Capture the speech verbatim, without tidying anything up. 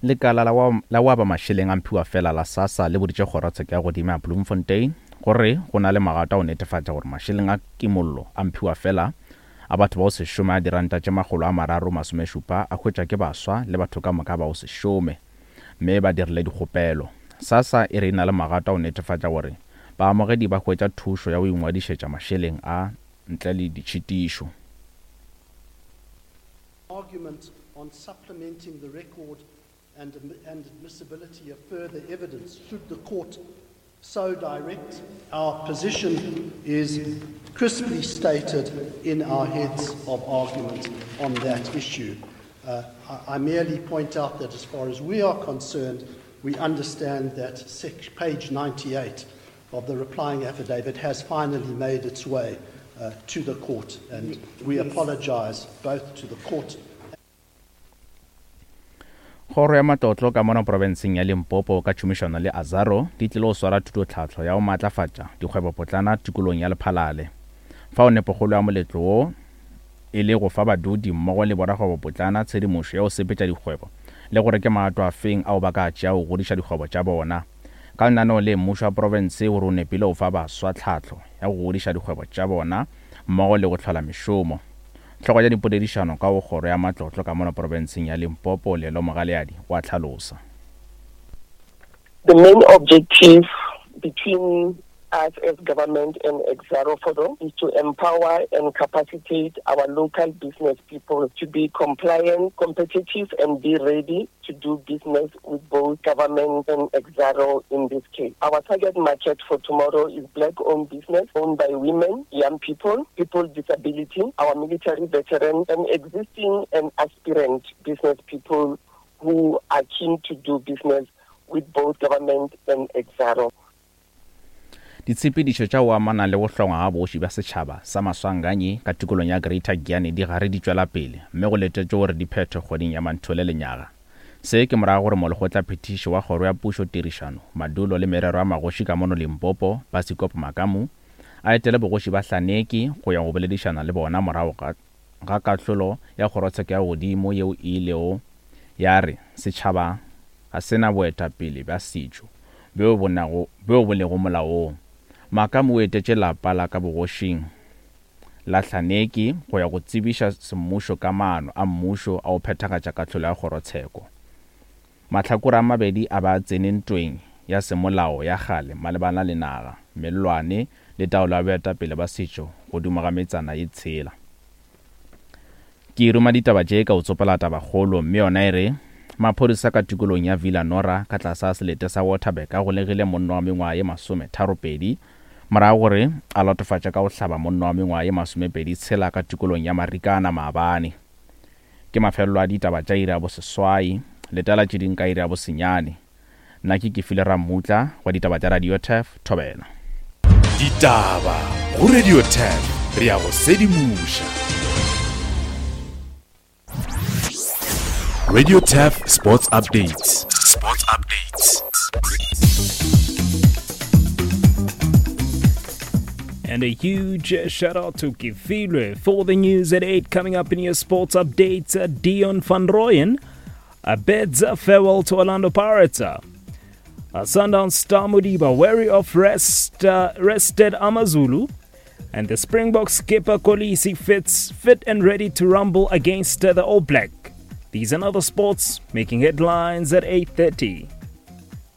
Lekala la wa, la wa ba mašeleng a mphiwa fela la SASSA le boditše kgorotsheko ya godimo ya Bloemfontein gore go na le magato a go netefatša gore mašeleng a kimollo a mphiwa fela a batho ba go se šome a diranta tše makgolo a mararo masomešupa a hwetšwa ke baswa le batho ka moka ba go se šome mme ba dirile dikgopelo. SASSA e re e na le magato a go netefatša gore baamogedi ba hwetša thušo ya go ingwadišetša mašeleng a ntle le ditšhitišo. Argument on supplementing the record and, and admissibility of further evidence should the court so direct. Our position is crisply stated in our heads of argument on that issue. Uh, I, I merely point out that as far as we are concerned, we understand that sec- page ninety-eight of the replying affidavit has finally made its way uh, to the court, and we apologize both to the court. Kgoro ya Matlotlo ka mono profenseng ya Limpopo ka tšhomišano le Azaro di tlile go swara thutotlhahlo ya go maatlafatša dikgwebopotlana tikolong ya Lephalale. Fao nepokgolo ya moletlo wo e le go fa badudi mmogo le borakgwebopotlana tshedimošo ya go sepetša dikgwebo le gore ke magato a feng ao ba ka tšea go godiša dikgwebo tša bona. Ka lenaneo le mmušo wa profense o re o nepile go fa baswa tlhahlo ya go godiša dikgwebo tša bona mmogo le go hlola mešomo. Hlogo ya dipoledišano ka go kgoro ya matlotlo ka mono profenseng ya Limpopo Lelo Mogaleadi wa tlhalosa. The main objective between us as government and Exxaro Forum is to empower and capacitate our local business people to be compliant, competitive, and be ready to do business with both government and Exxaro in this case. Our target market for tomorrow is black-owned business owned by women, young people, people with disability, our military veterans, and existing and aspirant business people who are keen to do business with both government and Exxaro. Ditshepedišo tša go amana le go hlongwa ga bogoši bja setšhaba sa Maswanganyi ka tikolong ya Greater Giyani di gare di tšwela pele mme go letetšwe gore di phethwe kgweding ya Manthole lenyaga. Se ke morago gore molekgotlaphethiši wa kgoro ya pušo tirišano, madulo le merero ya magoši ka mono Limpopo, Basikopo Makamu, a etele bogoši ba Hlaneki go ya go boledišana le bona morago ga, ga kahlolo ya kgorotsheko ya godimo yeo e ilego ya re setšhaba ga se na boetapele bja setšo bjo bo nago bjo bo lego molaong. Makamu o etetše lapa la ka bogošing la Hlaneki go ya go tsebiša semmušo ka maano a mmušo a go phethagatša kahlolo ya kgorotsheko. Mahlakore a mabedi a ba tsene ntweng ya semolao ya kgale malebana le naga, mellwane le taolo ya boetapele ba setšo godimo ga metsana ye tshela. Ke ruma ditaba tše ka o tsopela tabakgolo mme yona e re maphodisa ka tikolong ya Villa Nora ka tlasa selete sa Waterberg a golegile monna wa mengwaga ye masometharopedi morago gore a latofatša ka go hlaba monna wa mengwaga ye masomepedi tshela ka tikolong ya Marikana maabane. Ke mafelelo a ditaba tša iri ya boseswai, letela tše ding ka iri ya bosenyane. Nna ke Kefile Rammutla wa ditaba tša Radio Turf, Thobela. Ditaba go Radio Turf, re ya go sedimoša. Radio Turf Sports Updates. Sports Updates. And a huge shout out to Kefilwe for the news at eight. Coming up in your sports updates, uh, Deon van Rooyen uh, bids a farewell to Orlando Pirates. Uh, Sundown star Modiba wary of rest, uh, rested AmaZulu. And the Springbok skipper Kolisi fits fit and ready to rumble against uh, the All Black. These and other sports making headlines at eight thirty.